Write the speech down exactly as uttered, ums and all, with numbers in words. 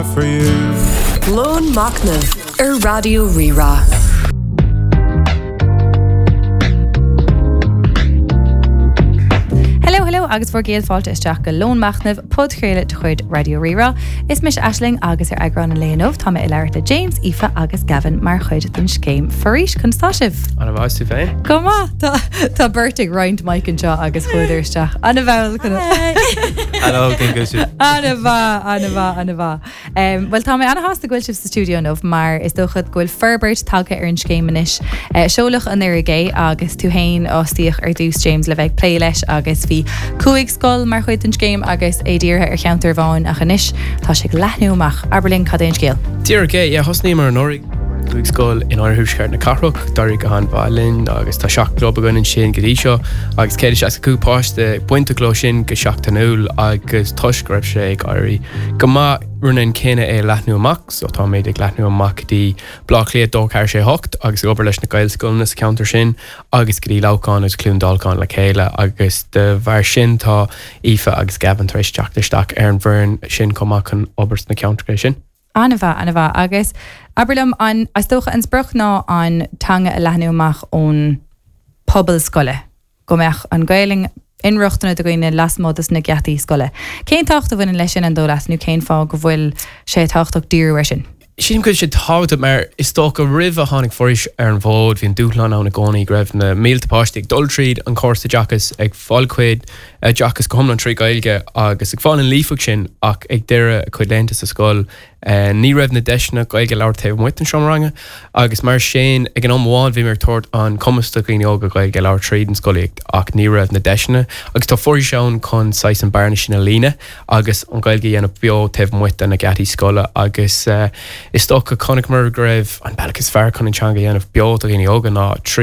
have for you. Lón Machnaimh ar Raidió Rí-Rá. Hello, hello agus bhur gcéad fáilte isteach go Lón Machnaimh podchraoladh de chuid Raidió Rí-Rá. Is mise Aisling agus ar eagrán an lae inniu tá mé ag labhairt le James, Aoife agus Gavin mar chuid den scéim Foraois conas tá sibh. An-mhaith tú féin? Go maith Tá tá beirt ag roinnt mic anseo agus chuadar isteach. An-mhall Hello, cén go sibh? An-mhaith, an-mhaith, an-mhaith. Um, well tá mé an-shásta go bhfuil sibh sa stiúideo inniu mar is dócha go bhfuil forbairt tagtha ar an scéim anois. Uh, seoladh anuraidh é agus tú féin a fostaíodh ar dtús James le bheith ag plé leis agus bhí cúig scoil mar chuid den scéim agus é dírithe ar cheantar amháin ach anois tá sé ag leathnú amach. Abair linn cad é an scéal. Díreach é, yeah, thosnaíomar anuraidh cúig scoil in oirthuaisceart na cathrach, d'éirigh go han-mhaith linn agus tá seacht gclub againn ansin go dtí seo agus céad is seasca cúig páiste bainteach leo sin go seachtainiúil agus toisc go raibh sé ag éirí go maith rinne an cinneadh é leathnú amach, so táimid ag leathnú amach go dtí Baile Átha Cliath dó ceathair sé hocht agus ag obair leis na Gaelscoileanna sa cheantar sin agus go dtí Leamhcán agus Cluain Dolcáin le chéile agus de bharr sin tá Aoife agus Gavin tar éis teacht isteach ar an bhfoireann sin chomh maith chun obair sna ceantracha sin. An-mhaith, an-mhaith agus abair liom an is dócha an sprioc ná an teanga a leathnú amach ón pobal scoile. Go mbeadh an Ghaeilge inrochtana do dhaoine lasmuigh dos na geataí scoile. Cén tábhacht a bhaineann leis sin an dóigh leat nó cén fáth go bhfuil sé tábhachtach díriú air sin? Sílim go bhfuil sé tábhachtach mar is dócha roimh a tháinig Foraois ar an bhfód bhí an dúshlán ann i gcónaí go raibh na mílte páistí ag dul tríd an córas oideachais ag fáil cuid oideachas go hiomlán trí Ghaeilge agus ag fáil an líofacht sin ach ag deireadh a cuid laethanta sa scoil eh, ní raibh na deiseanna Gaeilge labhairt taobh amuigh den seomra ranga agus mar sin ag an am amháin bhí ag tabhairt an cumas do dhaoine óga Gaeilge labhairt tríd an scolaíocht ach ní raibh na deiseanna agus tá Foraois ann chun saghas an bearna sin a líonadh agus an Ghaeilge a dhéanamh beo taobh amuigh de na geataí scoile agus uh, is dócha chonaiceamar go raibh an bealach is fearr chun an teanga a dhéanamh beo do dhaoine óga ná trí